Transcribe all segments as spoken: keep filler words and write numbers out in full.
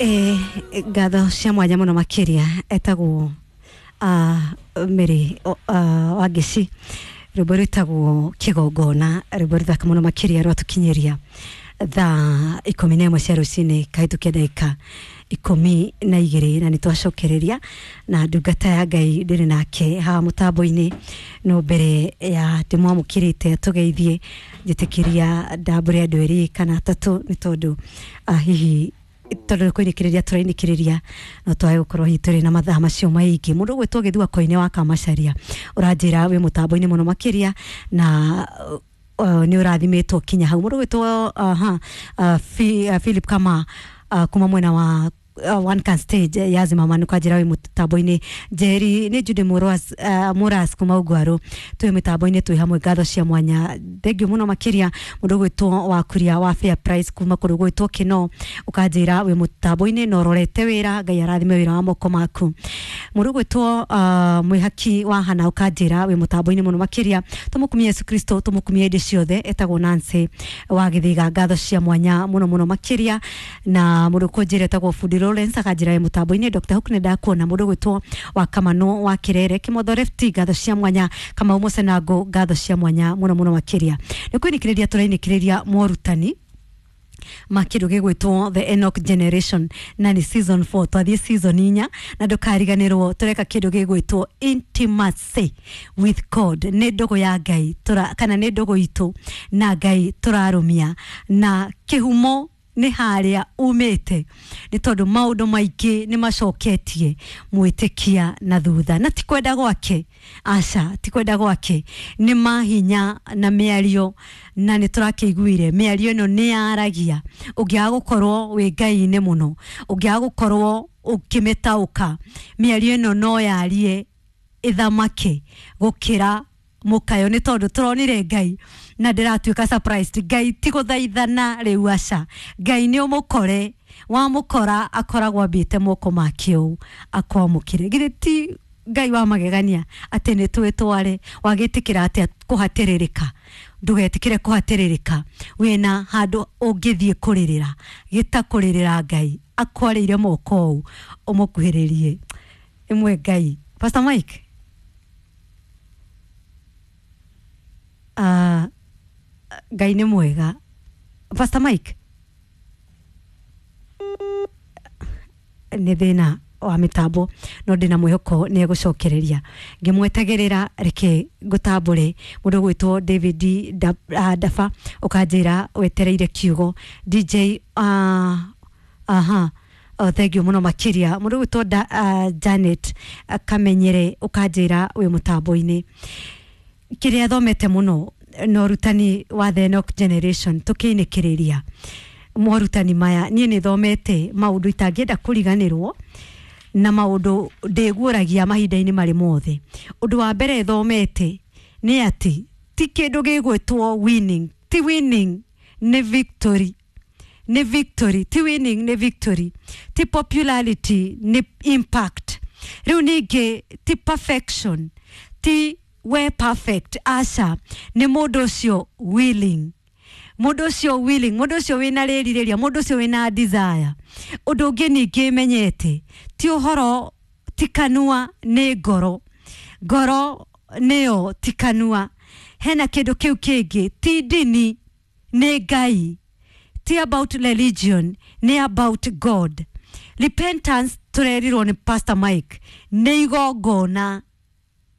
Eh, ngatho cia mwanya muno makiria etagwo uh, Mary uh, Wangeci, rwimbo rwitagwo Kigongona, rwimbo ruthaka muno makiria rwatukinyiria thaa ikumi na ĩmwe cia rũcinĩ kahĩtũkia ndagĩka ikũmi na igĩrĩ, na nĩ twacokereria na ndungata ya Ngai ndĩrĩ nake haha mũtambo-inĩ. No mbere ya ndĩmwamũkĩrĩte tũgeithie, njĩtĩkĩria ndambũre andũ erĩ kana atatũ, nĩ tondũ uh, hihi tondũ kũinĩkĩrĩria tũrainĩkĩrĩria no twage gũkorwo hihi tũrĩ na mathaa macio maingĩ. Mũndũ ũgwĩtwo Gĩthua Koine wa Kamacaria ũranjĩra wĩ mũtambo-inĩ mũno makĩria na uh, nĩ ũrathimĩtwo kinya hau. Mũndũ ũgwĩtwo uh, uh, Fi, uh, Philip Kama uh, kuma mwena wa uh, One Can Stage ya Zimama nĩkwanjĩra wĩ mũtambo-inĩ. Njeri nĩ Jude Muras, uh, Muras kuma Ugwaru twĩ mĩtambo-inĩ twĩ hamwe, ngatho cia mwanya, thengiũ mũno makĩria. Mũndũ ũgwĩtwo wa Kuria wa Fair Price kuma kũndũ gwĩtwo Kĩno ũkanjĩra wĩ mũtambo-inĩ na ũrorete wĩra, Ngai arathime wĩra wa moko maku. Mũndũ ũgwĩtwo uh, Mwĩhaki wa Hana ũkanjĩra wĩ mũtambo-inĩ mũno makĩria, tũmũkumie Yesu Kristo, tũmũkumie hĩndĩ ciothe, etagwo Nancy wa Gĩthiga, ngatho cia mwanya mũno mũno makĩria. Na mũndũ ũkũnjĩra etagwo Fundi Lawrence akanjĩra wĩ mũtambo-inĩ. Doctor Hook nĩ ndakuona. Mũndũ ũgwĩtwo wa Kamano wa Kirere Kĩmotho Lefti, ngatho cia mwanya. Kamau Mũcenango, ngatho cia mwanya mũno mũno makĩria. Nĩ kwĩnĩkĩrĩria tũrainĩkĩrĩria morutani ma kĩndũ gĩgwĩtwo The Enoch Generation, na nĩ season four, twathiĩ season inya, na ndũkariganĩrwo tũreka kĩndũ gĩgwĩtwo intimacy with God, nĩ ndũgũ ya Ngai tũra, kana nĩ ndũgũ itũ na Ngai tũrarũmia, na kĩhumo nĩ harĩa umĩte, nĩ tondũ maũndũ maingĩ nĩ macoketie mwĩtĩkia na thutha, na ti kwenda gwake, aca, ti kwenda gwake, nĩ mahinya na mĩario, na nĩ tũrakĩiguire mĩario ĩno nĩ yaragia. Ũngĩaga gũkorwo wĩ Ngai-inĩ mũno, ũngĩaga gũkorwo ũkĩmĩtaũka, mĩario ĩno no yarie ĩthamake gũkĩra mũkayo, nĩ tondũ tũronire Ngai na ndĩratuĩka surprised. Ngai ti gũthaithana rĩu, aca, Ngai nĩ ũmũkore, wamũkora akoragwo ambĩte moko make ũũ akwamũkĩre. Githĩ ti Ngai wa magegania atĩ nĩ twĩtware? Wagĩtĩkĩra atĩa kũhatĩrĩrĩka? Ndũgetĩkĩre kũhatĩrĩrĩka, wĩna handũ ũngĩthiĩ kũrĩrĩra, gĩta kũrĩrĩra Ngai akwarĩire moko ũũ ũmũkuhĩrĩrie ĩmwe Ngai. Pastor Mike, uh, Ngai nĩ mwega. Pastor Mike, nĩ thĩna wa mĩtambo, no ndĩna mwĩhoko nĩ egũcokereria. Ngĩmwetagĩrĩra, reke ngũtambũre mũndũ ũgwĩtwo David Da- ah, Dafa, ũkanjĩra wetereire kiugo. D J, uh, aha, oh, thank you mũno makĩria. Mũndũ ũgwĩtwo Da- uh, Janet uh, Kamenyere ũkanjĩra wĩ mũtambo-inĩ. Kĩrĩa thomete mũno na ũrutani wa The Enoch Generation, tũkĩinĩkĩrĩria morutani maya, niĩ nĩ thomete maũndũ itangĩenda kũriganĩrwo na maũndũ ndĩguũragia mahinda-inĩ marĩ mothe. Ũndũ wa mbere thomete nĩ atĩ ti kĩndũ gĩgwĩtwo winning, ti winning, nĩ victory, nĩ victory, ti winning, nĩ victory, ti popularity, nĩ impact. Rĩu ningĩ ti perfection, ti we perfect, aca, nĩ mũndũ ũcio willing, mũndũ ũcio willing, mũndũ ũcio wĩna rĩrirĩria, mũndũ ũcio wĩna desire. Ũndũ ũngĩ ningĩ menyete, ti ũhoro, ti kanua, nĩ ngoro, ngoro nĩyo, ti kanua. Hena kĩndũ kĩu kĩngĩ, ti ndini, nĩ Ngai, ti about religion, nĩ about God. Repentance, tũrerirwo nĩ Pastor Mike, nĩ igongona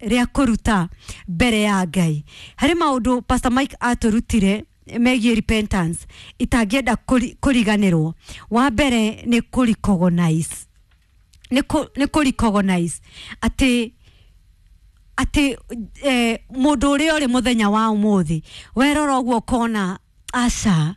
rĩa kũruta mbere ya Ngai. Harĩ maũndũ Pastor Mike atũrutire megiĩ repentance itangĩenda kũri- kũriganĩrwo. Wa mbere nĩ kũ-recognize, nĩ kũ- nĩ kũ-recognize atĩ atĩ eh, mũndũ ũrĩa ũrĩ mũthenya wa ũmũthĩ, werora ũguo ũkona, aca,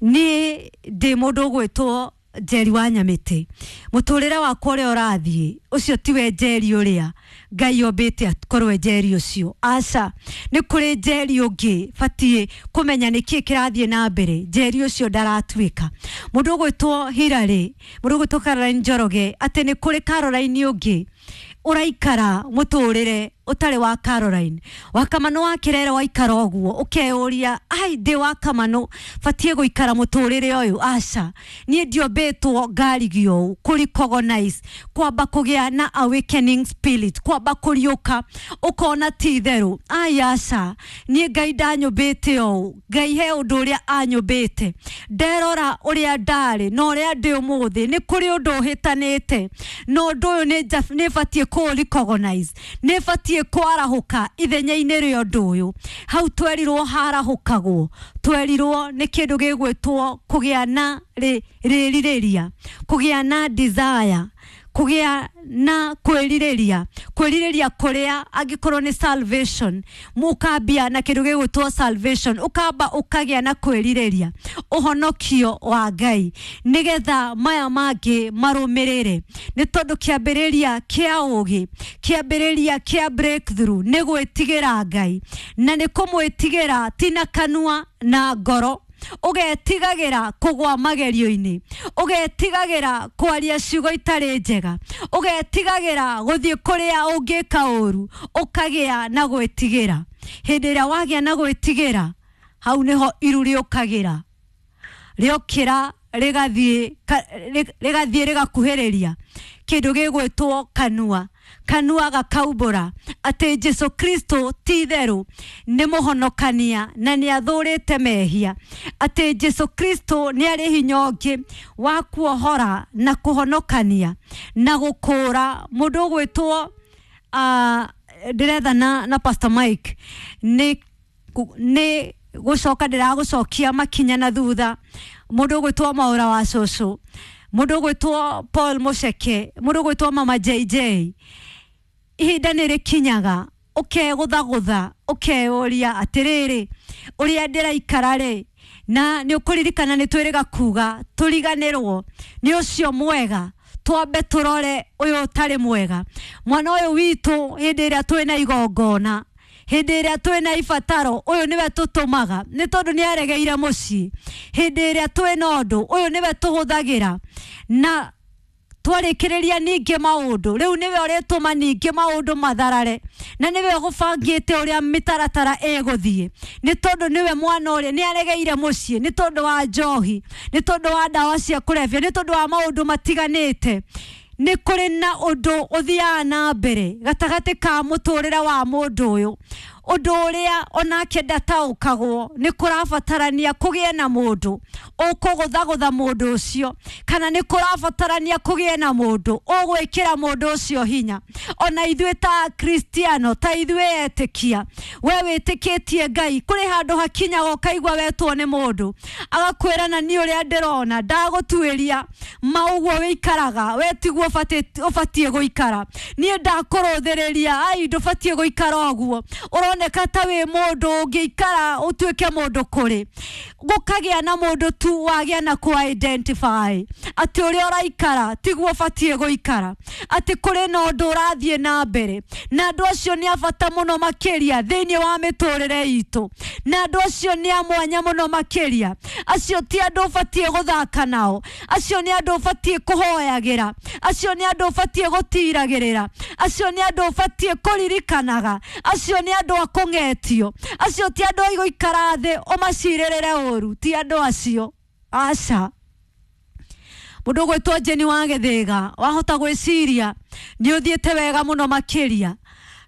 niĩ ndĩ mũndũ ũgwĩtwo Njeri wa Nyamĩtĩ, mũtũrĩre wakwa ũrĩa ũrathiĩ ũcio tiwe Njeri ũrĩa Ngai ombĩte akorwo e Njeri ũcio, aca, nĩ kũrĩ Njeri ũngĩ batiĩ kũmenya nĩkĩĩ kĩrathiĩ na mbere. Njeri ũcio ndaratuĩka mũndũ ũgwĩtwo Hilary, mũndũ ũgwĩtwo Caroline Njoroge, atĩ nĩ kũrĩ Caroline ũngĩ ũraikara mũtũrĩre. Utari wa Caroline wa Kamano wa Kirere waikara ũguo ũkeyũria ai ndĩ wa Kamano batie gũikara mũtũrĩre ũyũ aca niĩ ndiombĩtwo ngarigio ũũ kũ recognize kwamba kũgĩa na awakening spirit kwamba kũriũka ũkona ti itherũ ai aca niĩ Ngai ndanyũmbĩte ũũ Ngai he ũndũ ũrĩa anyũmbĩte nderora ũrĩa ndarĩ na ũrĩa ndĩ ũmũthĩ nĩ kũrĩ ũndũ ũhĩtanĩte na ũndũ ũyũ nĩ batiĩ kũ recognize nĩ batiĩ kwarahuka ithenya-inĩ rĩa ũndũ ũyũ hau twerirwo harahũkagwo twerirwo nĩ kĩndũ gĩgwĩtwo kũgĩa na rĩrirĩria kũgĩa na desire kũgĩa na kwĩrirĩria kwĩrirĩria kũrĩa angĩkorwo nĩ salvation mũkambia na kĩndũ gĩgwĩtwo salvation ũkamba ũkagĩa na kwĩrirĩria ũhonokio wa Ngai nĩgetha maya mangĩ marũmĩrĩre nĩ tondũ kĩambĩrĩria kĩa ũgĩ kĩambĩrĩria kĩa breakthrough nĩ gwĩtigĩra Ngai na nĩ kũmwĩtigĩra ti na kanua na ngoro ũgetigagĩra kũgwa magerio-inĩ ũgetigagĩra kwaria ciugo itarĩ njega ũgetigagĩra gũthiĩ kũrĩa ũngĩka ũru ũkagĩa na gwĩtigĩra hĩndĩ ĩrĩa wagĩa na gwĩtigĩra hau nĩho iru rĩũkagĩra rĩokĩra rĩgathiĩ rĩgathiĩ rĩgakuhĩrĩria kĩndũ gĩgwĩtwo kanua kanua gakaumbũra atĩ Jesu Kristo ti itherũ nĩ mũhonokania na nĩ athũrĩte mehia atĩ Jesu Kristo nĩ arĩ hinya ũngĩ wa kuohora na kũhonokania na gũkũra mũndũ ũgwĩtwo uh, ndĩretha na, na Pastor Mike nĩ nĩ gũcoka ndĩragũcokia makinya na thutha mũndũ ũgwĩtwo Maũra wa cũcũ mũndũ ũgwĩtwo Paul Muceke mũndũ ũgwĩtwo Mama J J ihinda nĩ rĩkinyaga ũkegũthagũtha ũkeyũria atĩrĩrĩ ũrĩa ndĩraikara rĩ na nĩ ũkũririkana nĩ twĩrĩga kuga tũriganĩrwo nĩ ũcio mwega twambe tũrore ũyũ ũtarĩ mwega mwana ũyũ witũ hĩndĩ ĩrĩa twĩna igongona hĩndĩ ĩrĩa twĩna ibataro ũyũ nĩwe tũtũmaga nĩ tondũ nĩ aregeire mũciĩ hĩndĩ ĩrĩa twĩna ũndũ ũyũ nĩwe tũhũthagĩra na twarĩkĩrĩria ningĩ maũndũ rĩu nĩwe ũrĩtũma ningĩ maũndũ matharare na nĩwe ũgũbangĩte ũrĩa mĩtaratara ĩgũthiĩ nĩ tondũ nĩwe mwana ũrĩa nĩ aregeire mũciĩ nĩ tondũ wa njohi nĩ tondũ wa ndawa cia kũrebia nĩ tondũ wa maũndũ matiganĩte nĩ kũrĩ na ũndũ ũthiaga na mbere gatagatĩ ka mũtũrĩre wa mũndũ ũyũ ũndũ ũrĩa onake ndataũkagwo nĩ kũrabatarania kũgĩe na mũndũ ũkũgũthagũtha mũndũ ũcio kana nĩ kũrabatarania kũgĩe na mũndũ ũgwĩkĩra mũndũ ũcio hinya ona ithuĩ ta Kristiano ta ithuĩ etĩkia we wĩtĩkĩtie Ngai kũrĩ handũ hakinyaga ũkaigua wetwo nĩ mũndũ agakwĩra na niĩ ũrĩa ndĩrona ndagũtuĩria ma ũguo wĩikaraga we tiguo ũbatiĩ gũikara niĩ ndakũrũthĩrĩria ai ndũbatiĩ gũikara ũguo ũroneka ta wĩ mũndũ ũngĩikara ũtuĩke mũndũ kũrĩ gũkagĩa na mũndũ tu wagĩa na kũ identify atĩ ũrĩa ũraikara tiguo ũbatiĩ gũikara atĩ kũrĩ na ũndũ ũrathiĩ na mbere na andũ acio nĩ a bata mũno makĩria thĩinĩ wa mĩtũrĩre itũ na andũ acio nĩ a mwanya mũno makĩria acio ti andũ ũbatiĩ gũthaka nao acio nĩ andũ ũbatiĩ kũhoyagĩra acio nĩ andũ ũbatiĩ gũtiragĩrĩra acio nĩ andũ ũbatiĩ kũririkanaga acio nĩ andũ a kũng'etio acio ti andũ a gũikara thĩ ũmacirĩrĩre ũru ti andũ acio aca mũndũ ũgwĩtwo Jeni wa Gĩthĩga wahota gwĩciria nĩ ũthiĩte wega mũno makĩria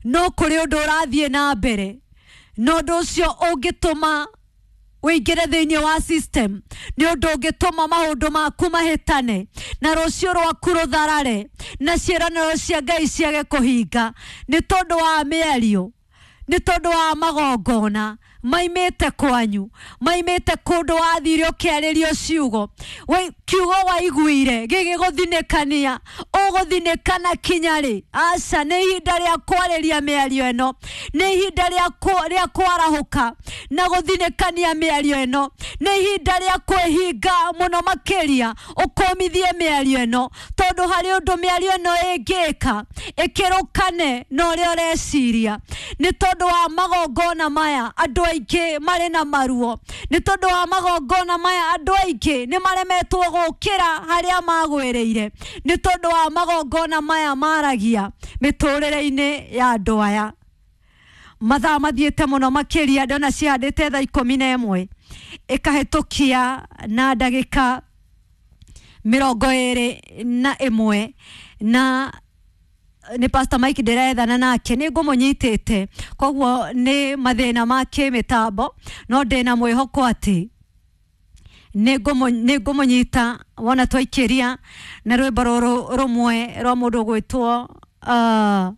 no kũrĩ ũndũ ũrathiĩ na mbere na ũndũ ũcio ũngĩtũma wĩingĩre thĩinĩ wa system nĩ ũndũ ũngĩtũma maũndũ maku mahĩtane na rũciũ rwaku rũtharare na ciĩranĩro cia Ngai ciage kũhinga nĩ tondũ wa mĩario nĩ tondũ wa magongona maimĩte kwanyu maimĩte kũndũ wathire ũkĩarĩrio ciugo kiugo waiguire gĩgĩgũthinĩkania ũgũthinĩkana kinya rĩ aca nĩ ihinda rĩa kwarĩria mĩario ĩno nĩ ihinda rĩa kwarahũka na gũthinĩkania mĩario ĩno nĩ ihinda rĩa kwĩhinga mũno makĩria ũkũmithie mĩario ĩno tondũ harĩ ũndũ mĩario ĩno ĩngĩka ĩkĩrũkane na ũrĩa ũreciria nĩ tondũ wa magongona maya andũ aingĩ marĩ na maruo nĩ tondũ wa magongona maya andũ aingĩ nĩ maremetwo gũkĩra harĩa magwĩrĩire nĩ tondũ wa magongona maya maragia mĩtũrĩre-inĩ ya andũ aya. Mathaa mathiĩte mũno makĩria, ndona cihandĩte thaa ikũmi na ĩmwe ĩkahĩtũkia na ndagĩka mĩrongo ĩrĩ na ĩmwe, na nĩ Pastor Mike ndĩrethana nake, nĩ ngũmũnyitĩte, koguo nĩ mathĩna ma kĩmĩtambo, no ndĩna mwĩhoko atĩ nĩ ngũmũnyita wona twaikĩria na rwĩmbo rũrũ rũmwe rwa mũndũ ũgwĩtwo uh,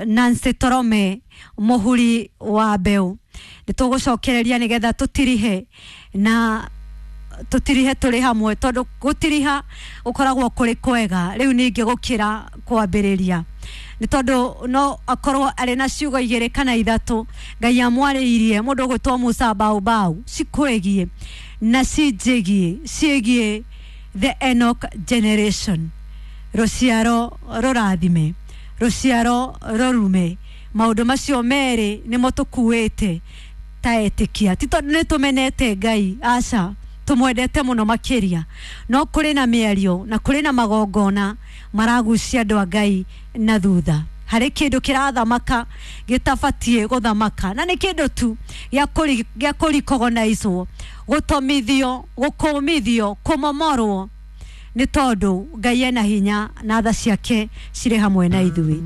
Nancy Torome, mũhuri wa mbeũ. Nĩ tũgũcokereria nĩgetha tũtirihe na tũtirihe tũrĩ hamwe, tondũ gũtiriha gũkoragwo kũrĩ kwega rĩu ningĩ gũkĩra kwambĩrĩria, nĩ tondũ no akorwo arĩ na ciugo igĩrĩ kana ithatũ Ngai amwarĩirie mũndũ ũgwĩtwo Musa Baobau cikwĩgiĩ na cinjĩgiĩ, ciĩgiĩ the Enoch generation, rũciaro rũrathime, rũciaro rũrume. Maũndũ macio merĩ nĩmo tũkuĩte ta etĩkia, ti tondũ nĩ tũmenete Ngai, aca, tũmwendete mũno makĩria, no kũrĩ na mĩario na kũrĩ na magongona maragucia andũ a Ngai na thutha. Harĩ kĩndũ kĩrathamaka gĩtabatiĩ gũthamaka, na nĩ kĩndũ tu gĩa kũrikogonaicwo, gũtomithio, gũkũmithio, kũmomorwo, nĩ tondũ Ngai ena hinya na tha ciake cirĩ hamwe na ithuĩ.